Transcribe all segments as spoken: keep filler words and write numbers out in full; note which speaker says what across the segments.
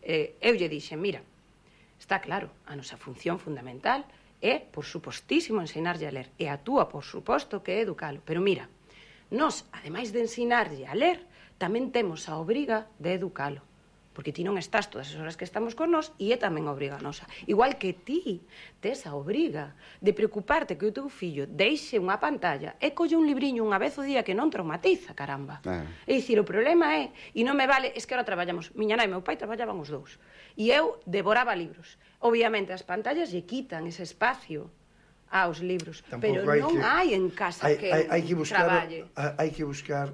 Speaker 1: eh, eu lle dixen, mira, está claro, a nosa función fundamental é, por supostísimo, ensinarlle a ler, e a túa, por suposto, que é educalo, pero mira, nós, ademais de ensinarlle a ler, tamén temos a obriga de educalo, porque ti non estás todas as horas que estamos con nós e é tamén a obriga nosa. Igual que ti tes a obriga de preocuparte que o teu fillo deixe unha pantalla e colle un libriño unha vez o día que non traumatiza, caramba. Ah. É dicir, o problema é, e non me vale, es que ahora traballamos, miña nai e meu pai traballaban os dous, e eu devoraba libros. Obviamente as pantallas lle quitan ese espacio aos libros, tampouco pero non que, hai en casa
Speaker 2: hai,
Speaker 1: que
Speaker 2: hai, hai que buscar,
Speaker 1: traballe.
Speaker 2: Hai que buscar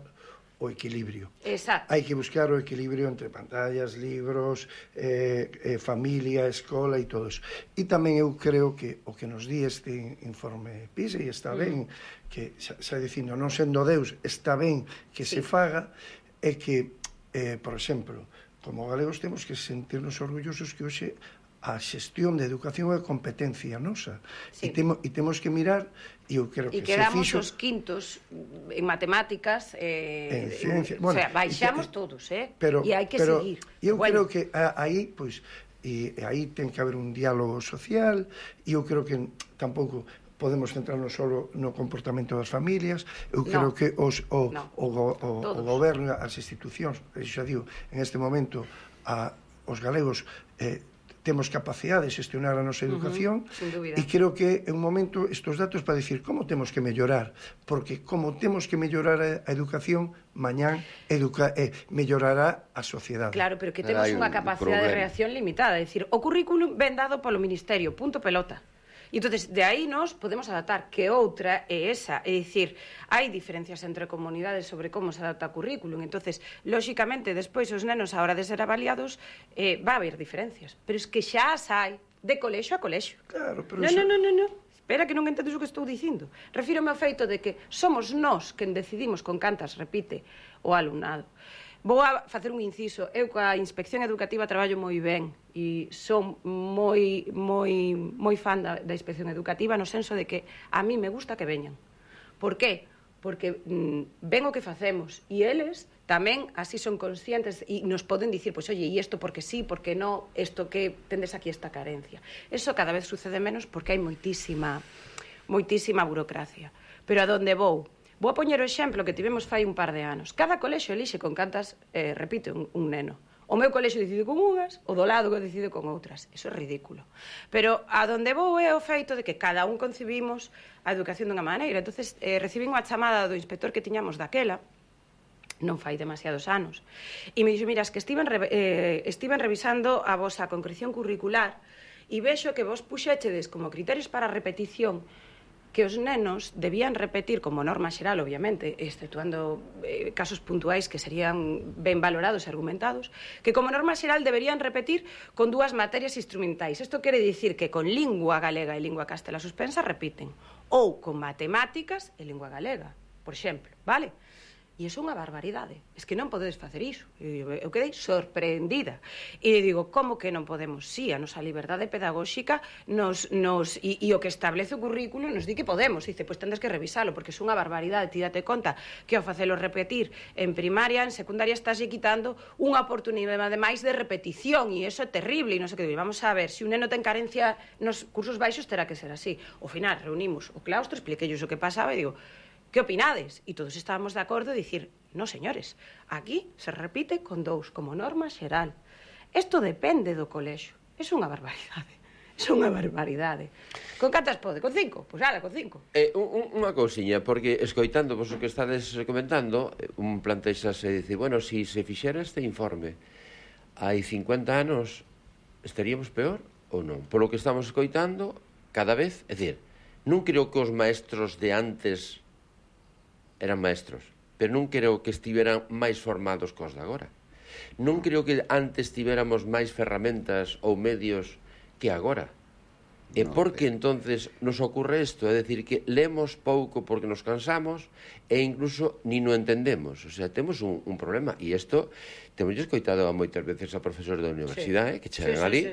Speaker 2: o equilibrio.
Speaker 1: Exacto.
Speaker 2: Hai que buscar o equilibrio entre pantallas, libros, eh, eh, familia, escola e todo eso. E tamén eu creo que o que nos di este informe PISA, e está ben, mm. que xa, xa dicindo, non sendo Deus, está ben que sí. se faga, é que, eh, por exemplo, como galegos temos que sentirnos orgullosos que hoxe a xestión de educación é competencia nosa. Sí. E, temo, e temos que mirar, e eu creo que
Speaker 1: se fixo... E quedamos
Speaker 2: fixo...
Speaker 1: os quintos en matemáticas, eh,
Speaker 2: en ciencia...
Speaker 1: En, bueno, o sea, baixamos que, todos, eh?
Speaker 2: Pero,
Speaker 1: e hai que
Speaker 2: pero
Speaker 1: seguir.
Speaker 2: Eu
Speaker 1: bueno.
Speaker 2: creo que aí, pois, e aí ten que haber un diálogo social, e eu creo que tampouco podemos centrarnos só no comportamento das familias. Eu creo no. que os, o, no. o, o, o, o goberno, as institucións, xa digo, en este momento, a, os galegos... Eh, temos capacidade de xestionar a nosa educación, uh-huh, e creo que é un momento estes datos para dicir como temos que mellorar, porque como temos que mellorar a educación, mañán educa, eh, mellorará a sociedade.
Speaker 1: Claro, pero que temos unha capacidade de reacción limitada, é dicir, o currículum ven dado polo Ministerio, punto pelota. E entonces de aí nos podemos adaptar, que outra é esa, é dicir, hai diferencias entre comunidades sobre como se adapta o currículum, entonces, lóxicamente, despois os nenos a hora de ser avaliados, eh, va a haber diferencias, pero es que xa as hai de colexo a colexo.
Speaker 2: Claro, pero
Speaker 1: non,
Speaker 2: eso...
Speaker 1: non, non, non, non. Espera que non entendes o que estou dicindo. Refírome ao feito de que somos nós quen decidimos con cantas repite o alumnado. Vou a facer un inciso. Eu coa Inspección Educativa traballo moi ben e son moi moi moi fan da, da Inspección Educativa no senso de que a mí me gusta que veñan. Por qué? Porque mm, ven o que facemos e eles tamén así son conscientes e nos poden dicir, pois, oye, e isto porque sí, porque no, isto que tendes aquí esta carencia. Eso cada vez sucede menos porque hai moitísima moitísima burocracia. Pero a donde vou? Vou a poñer o exemplo que tivemos fai un par de anos. Cada colexio elixe con cantas, eh, repite, un, un neno. O meu colexio decide con unhas, o do lado que decide con outras. Eso é ridículo. Pero a donde vou é o feito de que cada un concibimos a educación dunha maneira. Entonces, eh, recibín unha chamada do inspector que tiñamos daquela, non fai demasiados anos, e me dixo, mira, es que estiven, re, eh, estiven revisando a vosa concreción curricular e vexo que vos puxéchedes como criterios para a repetición que os nenos debían repetir como norma xeral, obviamente, exceptuando eh, casos puntuais que serían ben valorados e argumentados, que como norma xeral deberían repetir con dúas materias instrumentais. Isto quere dicir que con lingua galega e lingua castela suspensa repiten, ou con matemáticas e lingua galega, por exemplo, vale? E iso é unha barbaridade. Es que non podedes facer iso. Eu quedei sorprendida. E digo, como que non podemos? Sí, a nosa liberdade pedagóxica nos, nos, e, e o que establece o currículo nos di que podemos. Dice, pois tendes que revisalo, porque é unha barbaridade. Ti date conta que ao facelo repetir en primaria, en secundaria, estás quitando unha oportunidade máis de repetición, e iso é terrible, e non sei que. Vamos a ver, se un neno ten carencia nos cursos baixos, terá que ser así. Ao final, reunimos o claustro, expliquei o que pasaba e digo, que opinades? E todos estábamos de acordo de dicir, no, señores, aquí se repite con dous, como norma xeral. Isto depende do colexio. É unha barbaridade. É unha barbaridade. Con cantas pode? Con cinco? Pois ala, con cinco.
Speaker 3: Eh, un, unha cousiña, porque escoitando vos o que estades comentando, un plantexase e dice, bueno, se si se fixera este informe hai cincuenta anos, estaríamos peor ou non? Polo que estamos escoitando, cada vez, é dicir, non creo que os maestros de antes eran maestros, pero non creo que estiveran máis formados cos de agora. Non creo que antes tivéramos máis ferramentas ou medios que agora. E por que entonces nos ocurre isto? É dicir, que lemos pouco porque nos cansamos e incluso ni no entendemos. O sea, temos un, un problema. E isto temos escoitado moitas veces a profesores da universidade, que chegan ali,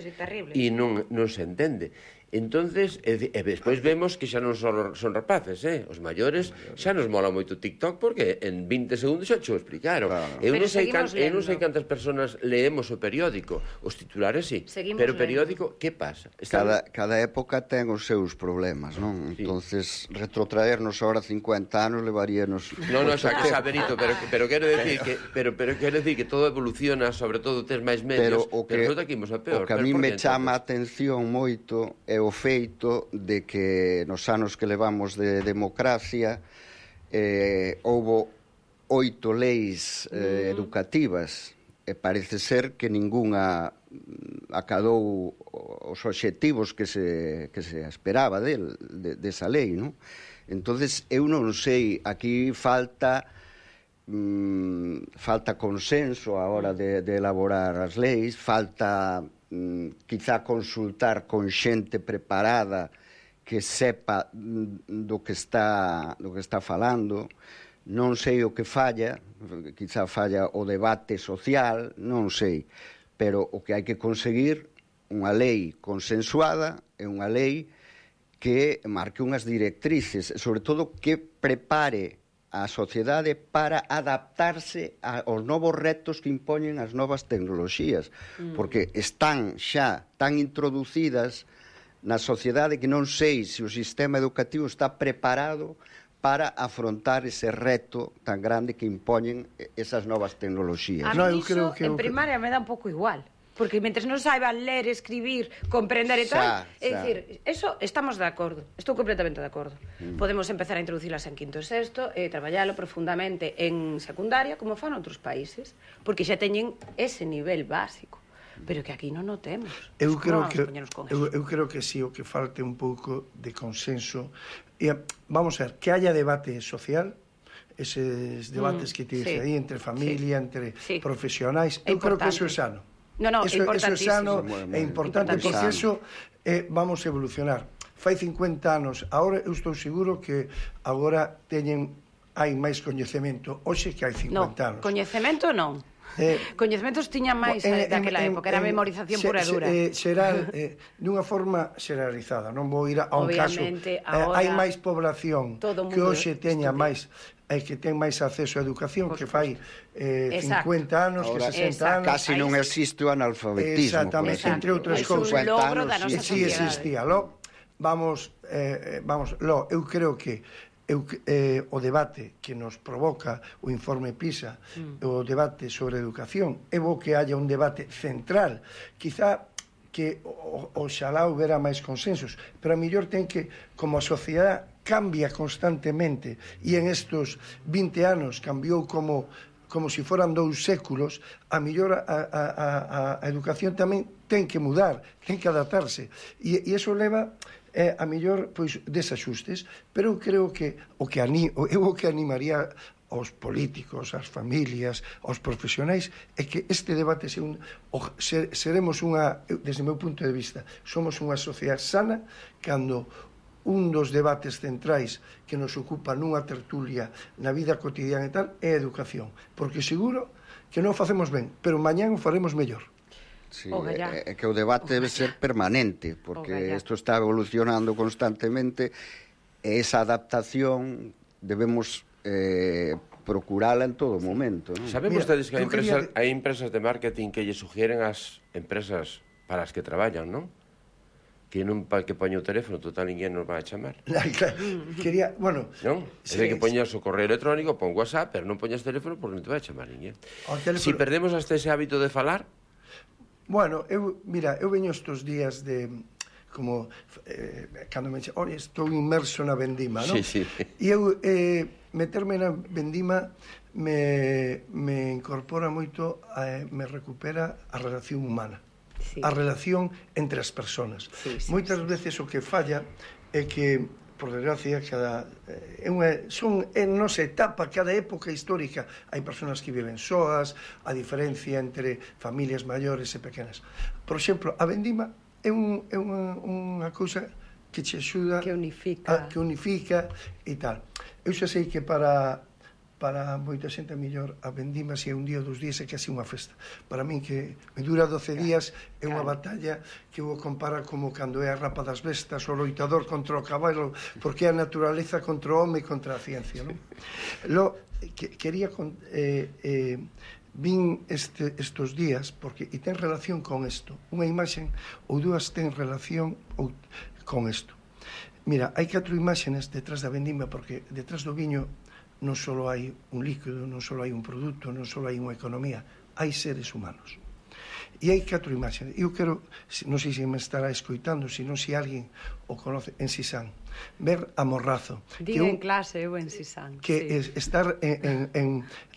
Speaker 3: e non se entende. Entonces, e, e despois vemos que xa non son, son rapaces, eh? Os maiores xa nos mola moito TikTok porque en vinte segundos xa xo explicaron. Claro. Eu, non sei can, eu non sei cantas persoas leemos o periódico, os titulares sí, seguimos pero o periódico, que pasa?
Speaker 4: Cada, cada época ten os seus problemas, non? Sí. Entonces, retrotraernos ahora cincuenta anos levaríanos...
Speaker 3: Non, non, xa que xa, Benito, pero, pero quero decir que pero, pero quero decir que todo evoluciona, sobre todo tes máis medios, pero, o que, pero que imos a peor.
Speaker 4: O que a mí me chama a atención moito é o feito de que nos anos que levamos de democracia eh, houbo oito leis eh, educativas e parece ser que ningunha acadou os obxectivos que se, que se esperaba del, de, desa lei, non? Entonces eu non sei, aquí falta mm, falta consenso a hora de, de elaborar as leis, falta quizá consultar con xente preparada que sepa do que está do que está falando. Non sei o que falla, quizá falla o debate social, non sei, pero o que hai que conseguir unha lei consensuada é unha lei que marque unhas directrices, sobre todo que prepare a sociedade para adaptarse aos novos retos que impoñen as novas tecnoloxías, mm. porque están xa tan introducidas na sociedade que non sei se o sistema educativo está preparado para afrontar ese reto tan grande que impoñen esas novas tecnoloxías.
Speaker 1: A mí no, iso, que en primaria me dá un pouco igual. Porque mentre non saiban ler, escribir, comprender e tal, é dicir, eso estamos de acordo, estou completamente de acordo. Mm. Podemos empezar a introducilas en quinto e sexto e traballalo profundamente en secundaria, como fan outros países, porque xa teñen ese nivel básico, pero que aquí non o temos.
Speaker 2: Eu creo que eu, eu creo que si o que falte un pouco de consenso, e vamos a ver, que haya debate social, eses debates mm, que te dice sí, aí entre familia, sí, entre sí, profesionais, eu creo que eso é sano.
Speaker 1: No, no,
Speaker 2: eso, eso é sano e importante, porque eso eh, vamos a evolucionar. Fai cincuenta anos, agora eu estou seguro que agora teñen hai máis coñecemento hoxe que hai cincuenta anos.
Speaker 1: No, coñecemento non. Eh, Coñecementos tiñan máis eh, daquela época, era memorización pura e dura.
Speaker 2: Eh, será eh, dunha forma xeralizada, non vou ir a un caso. Eh, hai máis población que hoxe teña máis é que ten máis acceso á educación que fai eh, cincuenta anos, que sesenta anos.
Speaker 4: Casi non existe o analfabetismo.
Speaker 2: Exactamente, entre outras cousas. E si existía. Lo, vamos, eh, vamos, lo, eu creo que eu, eh, o debate que nos provoca o informe PISA, mm. o debate sobre educación, é bo que haya un debate central. Quizá que oxalá houbera máis consensos, pero a mellor ten que, como a sociedade cambia constantemente, e en estos vinte anos cambiou como como se foran dous séculos, a mellor a, a, a, a educación tamén ten que mudar, ten que adaptarse, e, e iso leva eh, a mellor pois, desajustes, pero eu creo que o que ani, eu o que animaría aos políticos, ás familias, aos profesionais, é que este debate se un, o, ser, seremos unha, desde o meu punto de vista, somos unha sociedade sana cando un dos debates centrais que nos ocupa nunha tertulia na vida cotidiana e tal é a educación, porque seguro que non facemos ben, pero mañán o faremos mellor.
Speaker 4: Sí, é que o debate debe ser permanente, porque isto está evolucionando constantemente e esa adaptación debemos eh, procurala en todo momento, ¿no?
Speaker 3: Saben vostedes que hai empresas, quería... hai empresas de marketing que lle sugieren ás empresas para as que traballan, non? Que non pa que poña o teléfono, total ninguén nos vai a chamar.
Speaker 2: Quería, bueno...
Speaker 3: Non? É de que poñas o correo electrónico, pon WhatsApp, pero non poñas teléfono porque non te vai a chamar ninguén. Teléfono... Si perdemos hasta ese hábito de falar...
Speaker 2: Bueno, eu, mira, eu veño estos días de... como... Eh, cando me dixen, oi, estou inmerso na vendima, non?
Speaker 3: Sí, sí.
Speaker 2: E eu, eh, meterme na vendima me, me incorpora moito, eh, me recupera a relación humana. Sí. A relación entre as persoas. Sí, sí, moitas sí, veces o que falla é que, por desgracia, cada é unha, son en nosa etapa, cada época histórica hai persoas que viven soas, a diferencia entre familias maiores e pequenas. Por exemplo, a vendima é, un, é unha, unha cousa que che axuda
Speaker 1: que unifica.
Speaker 2: A, que unifica e tal. Eu xa sei que para para moita xente mellor a vendima se é un día ou dos días é casi unha festa. Para min que me dura doce días é unha batalla que vou comparar como cando é a rapa das bestas, o loitador contra o cabalo, porque é a naturaleza contra o home e contra a ciencia, non? Lo, que, quería con, eh, eh, vin este, estos días porque e ten relación con isto, unha imaxen ou dúas ten relación ou, con isto. Mira, hai catro imaxenes detrás da vendima porque detrás do viño non só hai un líquido, non só hai un produto, non só hai unha economía, hai seres humanos. E hai catro imaxes. Eu quero, non sei se me estará escoitando, se non se alguén o conoce, en Sisán, ver a Morrazo.
Speaker 1: Diga en clase, eu en Sisán.
Speaker 2: Que sí. es estar en... en, en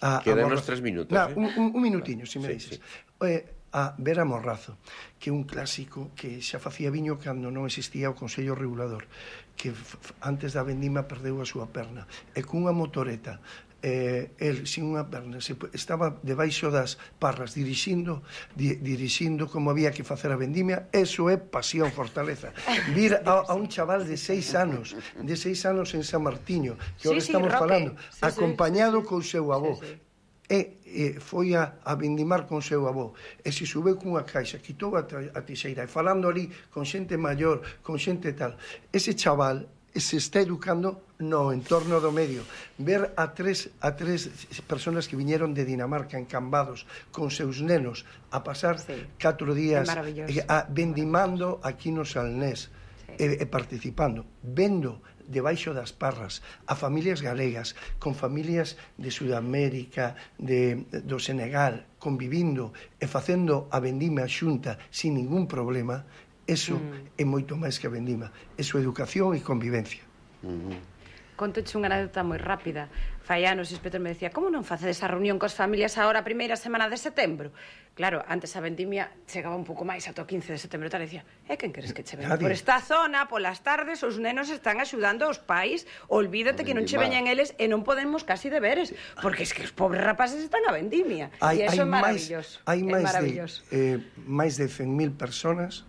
Speaker 3: a, Quedanos tres minutos.
Speaker 2: Na,
Speaker 3: eh?
Speaker 2: un, un, un minutiño, se me
Speaker 3: sí,
Speaker 2: dices.
Speaker 3: Sí.
Speaker 2: Eh, a ver a Morrazo, que é un clásico que xa facía viño cando non existía o Consello Regulador, que antes da vendima perdeu a súa perna, e cunha motoreta, eh, el sin unha perna, se, estaba debaixo das parras dirixindo, di, dirixindo como había que facer a vendimia. Eso é pasión, fortaleza. Vir a, a un chaval de seis anos, de seis anos en San Martiño, que ahora sí, estamos sí, falando, sí, acompañado sí, sí, con seu avó, sí, sí. E, e foi a, a vendimar con seu avó, e se subeu cunha caixa, quitou a, a tixeira, e falando ali con xente maior, con xente tal, ese chaval se está educando no entorno do medio. Ver a tres, a tres personas que viñeron de Dinamarca encambados con seus nenos a pasar sí. catro días a, vendimando aquí no Salnés, sí. e, e participando, vendo debaixo das parras a familias galegas con familias de Sudamérica, de, do Senegal, convivindo e facendo a vendima xunta sin ningún problema. Eso mm. é moito máis que a vendima. Eso é educación e convivencia.
Speaker 1: Mm-hmm. Contoche unha anécdota moi rápida. Fai anos, o inspector me decía: como non facedes a reunión cos familias agora a primeira semana de setembro? Claro, antes a vendimia chegaba un pouco máis ata o quince de setembro, tal, e decía: e quen queres que che venga? Por esta zona, polas tardes, os nenos están axudando aos pais, olvídate que non che veñan eles e non podemos casi deberes, porque es que os pobres rapaces están a vendimia. E iso é maravilloso.
Speaker 2: Hai máis de, eh, máis de cen mil personas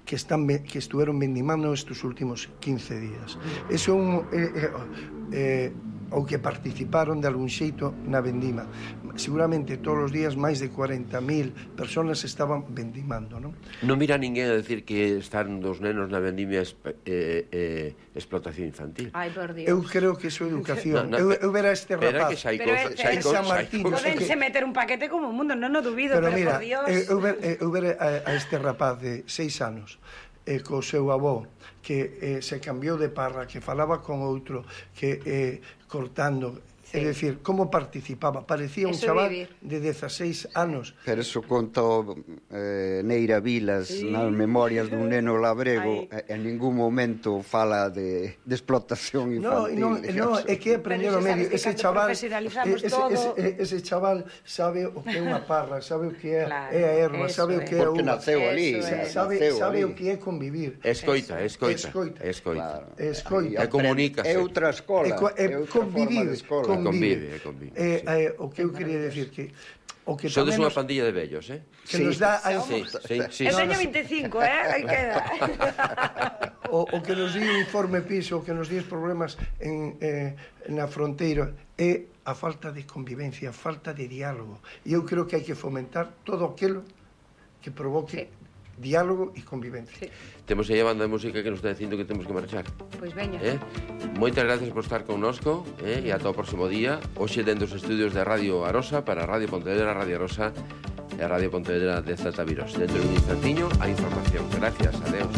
Speaker 2: que están que estuveron vendimando estes últimos quince días. Eso é un eh, eh, ou que participaron de algún xeito na vendima. Seguramente todos os días máis de cuarenta mil personas estaban vendimando, non?
Speaker 3: Non mira ninguén a decir que están dos nenos na vendimia eh, eh, explotación infantil.
Speaker 1: Ai, por Dios.
Speaker 2: Eu creo que iso é educación. No, no, eu, eu ver a este rapaz.
Speaker 3: Que xa hai cosas, xa hai
Speaker 2: cosas.
Speaker 1: Podense meter un paquete como o mundo, non o dubido,
Speaker 2: pero,
Speaker 1: pero
Speaker 2: mira,
Speaker 1: por Dios.
Speaker 2: Eu ver, eu ver a, a este rapaz de seis anos, e co seu avó, que eh, se cambiou de parra, que falaba con outro, que eh, cortando, sí. É dicir, como participaba, parecía un eso chaval vivir. De dezaseis anos.
Speaker 4: Pero eso conta eh, Neira Vilas sí. nas memorias dun neno labrego, e, en ningún momento fala de, de explotación infantil.
Speaker 2: No, no, no, é que aprendeu o medio, ese chaval, ese, ese, ese chaval sabe o que é unha parra, sabe o que é,
Speaker 1: claro,
Speaker 2: é a erva, sabe o que é
Speaker 4: porque naceu ali,
Speaker 2: sabe,
Speaker 4: naceu
Speaker 2: sabe
Speaker 4: ali.
Speaker 2: O que é convivir.
Speaker 3: Escoita, escoita,
Speaker 2: escoita,
Speaker 3: escoita.
Speaker 2: Claro. Escoita.
Speaker 3: E comunícase.
Speaker 4: É outra escola,
Speaker 2: é convivir,
Speaker 3: convive, convive.
Speaker 2: Eh, eh, o que eu quería decir que o que
Speaker 3: sodes unha pandilla de vellos, eh?
Speaker 2: Que sí. Nos dá a
Speaker 3: sí, sí, sí,
Speaker 1: eu teño vinte e cinco, eh? Aí queda.
Speaker 2: O, o que nos di o informe piso, o que nos di os problemas en, eh, na fronteira é a falta de convivencia, a falta de diálogo. E eu creo que hai que fomentar todo aquilo que provoque sí. diálogo e convivencia. Sí.
Speaker 3: Temos aí a banda de música que nos está dicindo que temos que marchar.
Speaker 1: Pois veña.
Speaker 3: Eh? Moitas gracias por estar connosco, eh? E ata o próximo día. Hoxe dentro dos estudios de Radio Arosa para Radio Pontevedra, Radio Arosa e a Radio Pontevedra de Zaltaviros. Dentro de un instantiño a información. Gracias, adeus.